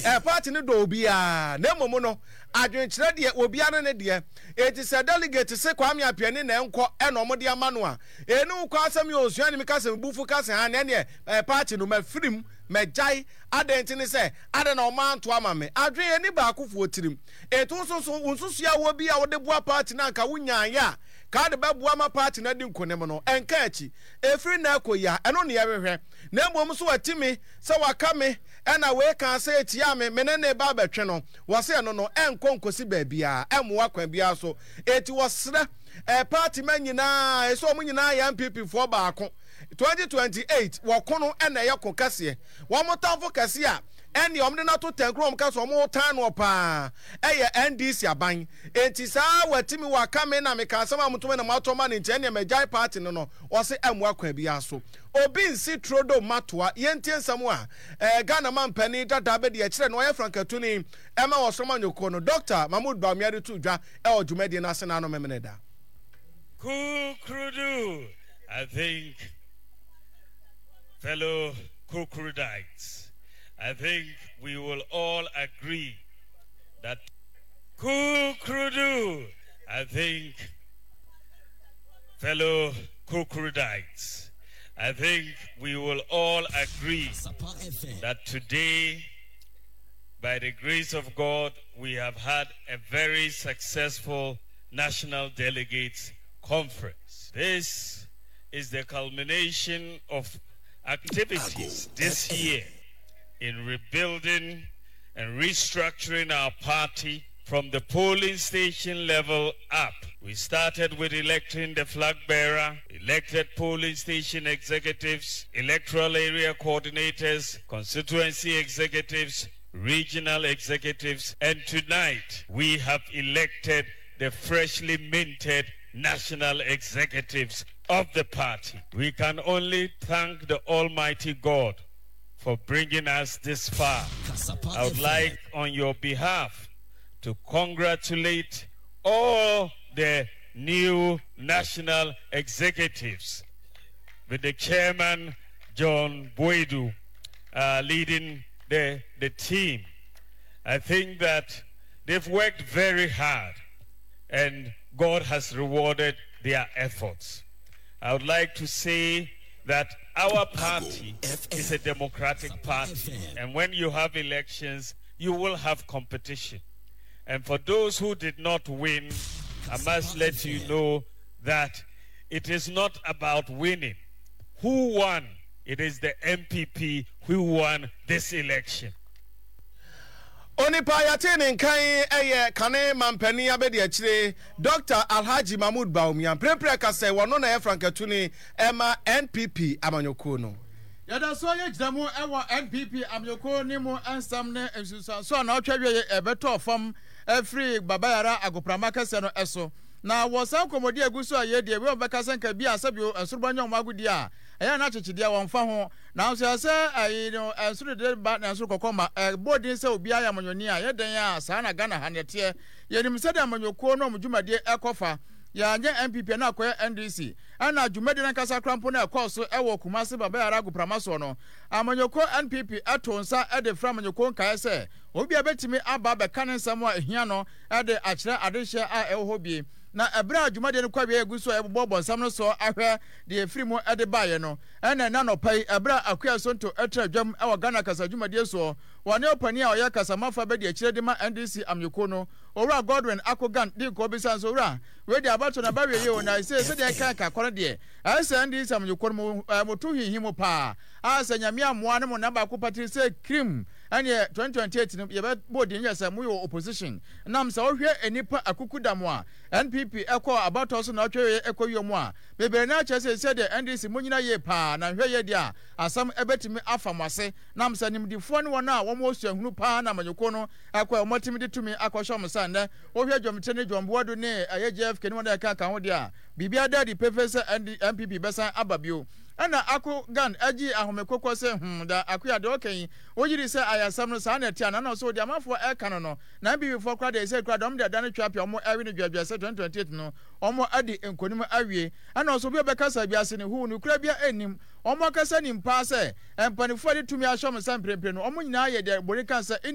Party no dɔ obiara, na mmom no, adwenkyerɛ deɛ, obiara ne ne deɛ. Enti sɛ delegate se Kwame Appiah na ɛnkɔ ɛna wɔde ama no a, ɛni wo kɔ asɛm yɛ osua ne mi ka sɛ mebufu ka sɛ ha na ɛneɛ party no mafirim, magyae. Adɛn nti ne sɛ, adɛn na wɔn anto ama me? Adwene ɛni baakofoɔ tirim. Enti wo nso so, wo nsusuiɛ a wɔ bi a wode boa party no anka wonyaeɛ a, ka de bɛboa ma party no adi nkonim no, ɛnka akyi. Ɛfiri nnɛ rekɔ yi a, ɛno na yɛhwehwɛ. Na mmom nso wati me sɛ waka me ɛna wei kaa sɛ ɛtia me, me ne no reba abɛtwe no. Wɔse ɛno no, ɛnkɔ nkɔsi baabiara, ɛmmoa kwan biara so. Enti wɔsrɛ ɛɛ party ma nyinaa, ɛsɛ wɔn nyinaa yɛ NPP foɔ baako. 2028 wɔko no ɛna ɛyɛ ko kɛseɛ. Wɔn tamfo kɛseɛ a ɛnneɛ wɔn de no ato tɛnkoro wɔn ka sɛ wɔn tan noɔ paa ɛyɛ NDC aban. Enti saa wati me waka me na meka asɛm a moto me na moato ma no nti ɛnneɛ magyae party no no, wɔse ɛmmoa kwan biara so. Obi nsi turodo mma toa. Yɛntie nsɛm a eh, Ghana mampanin dada bɛdi akyerɛ no ɔyɛ frankatuni ɛma ɔsom anyɔkuo no, Dɔkta Mahmood Bawumia de too dwa ɛwɔ dwumadie no ase n'ano Memeneda. Kukrudu, I think, fellow Kukrudites, I think we will all agree that Kukrudu, I think, fellow Kukrudites, I think we will all agree that today, by the grace of God, we have had a very successful National Delegates Conference. This is the culmination of activities this year in rebuilding and restructuring our party from the polling station level up. We started with electing the flag bearer, elected polling station executives, electoral area coordinators, constituency executives, regional executives, and tonight we have elected the freshly minted national executives of the party. We can only thank the Almighty God for bringing us this far. I would like, on your behalf, to congratulate all the new national executives with the chairman, John Boadu, leading the, the team. I think that they've worked very hard and God has rewarded their efforts. I would like to say that our party is a democratic party, and when you have elections, you will have competition. And for those who did not win, I must let you know that it is not about winning. Who won? It is the NPP who won this election. Onipa a yɛatee ne nka yi yɛ kane mampanin abadiakyire Dɔkta Alhaji Mahmood Bawumia. Mprempren ɛka sɛ wɔno na ɛyɛ frankatuni ma NPP amanyɔkuo no. Yɛda so yɛgyina mu wɔ NPP amanyɔkuo no mu nsɛm ne nsunsuansoɔ a naawɔtwe awieɛ ɛbɛtɔɔ fam firi Baba Yara agoprama kɛseɛ no so. Na wɔ saa nkɔmmɔdi a ɛgu so a yɛredie, wei wɔbɛka sɛ nka bi a sɛbio nsorobɔ nyɛ wɔn agodie a, ɛyɛ a na akyekyedeɛ wɔmfa ho. Nanso ɛsɛ sɛ ayi no ɛnsoro dede ba na ɛnsoro kɔkɔ ma. Ɛbɔ din sɛ obiara yɛ amanyɔni a, ɛyɛ dɛn a saa na Ghana ha no ɛteɛ. Yɛnim sɛdeɛ amanyɔkuo no wɔn dwumadie ɛkɔ fa. Yɛanyɛ NPP a na akɔyɛ NDC. Ɛna dwumadie no ankasa koraa mpo no a ɛkɔɔ so ɛwɔ Kumasi Baba Yara Agoprama soɔ no, amanyɔkuo NPP too nsa de frɛɛ amanyɔkuo nkaeɛ sɛ obiara bɛtumi aba abɛka ne nsɛm a ɛhia no de akyerɛ adehyeɛ a ɛwɔ hɔ bi. Na ɛberɛ a dwumadie no kɔ awieɛ a ɛgu so a yɛbobɔbɔ nsɛm no soɔ ahwɛ deɛ ɛfiri mu de baeɛ no, Ɛna ɛnnɛ anɔpa yi, ɛberɛ a Akua Sonto tra dwam wɔ Ghana kasa dwumadie soɔ, wɔne ɔpanin a ɔyɛ kasamafo abɛdi akyire de ma NDC amanyɔkuo no, Owura Godwin Akogan dii nkɔmmɔ bisaa no sɛ, Owura, wei deɛ abatoɔ no aba awieeɛ o, na seisei sɛdeɛ ɛka ɛka kɔ no deɛ, ayɛ sɛ NDC amanyɔkuo no mo, eh, moto hinhim mu paa, a sɛ Nyame ammoa ne mo nna baako patiri sɛ kirim, ɛneɛ 2028 no yɛbɛbɔ din yɛ sɛ moyɛ opposition. Nam sɛ wohwɛ nnipa akukudam a NPP kɔɔ abatoɔ so na ɔtwe kɔ wiem a, Bebree no ara kyerɛ sɛ sɛdeɛ NDC monyina yie paa na nhwɛ yie deɛ a asɛm bɛtumi afa mo ase nam sɛ nimdifoɔ ne wɔn a wɔn wɔ suahunu paa na amanyɔkuo no kɔ a wɔn atumi de tumi akɔhyɛ wɔn nsa nnɛ wohwɛ Dwomkyere ne John Boadu ne ɛyɛ JFK ne wɔn a ɛka ka ho deɛ a biribiara da adi pefee sɛ ND, NPP bɛsan aba bio ɛna Ako Gan agyii ahome kokɔ sɛ hmm da Akua deɛ ɔka yi wogye di sɛ ayɛ asɛm no saa na ɛte anaa na ɔsɛ ɔdi amanfoɔ ɛka no no na NPP foɔ koraa deɛ ɛsɛ koraa deɛ wɔn de adane twapia wɔn ɛwe no dwɛdwɛ sɛ 2028 no Wɔadi nkonim awie. Ɛna ɔsɛ obi a ɔbɛkasa wiase no huu nokorɛ biara nnim. Wɔn ankasa nim paa sɛ mpaninfoɔ a yɛde tumi ahyɛ wɔn nsa mprempren no, wɔn nyinaa yɛ deɛ Bori ka sɛ in a.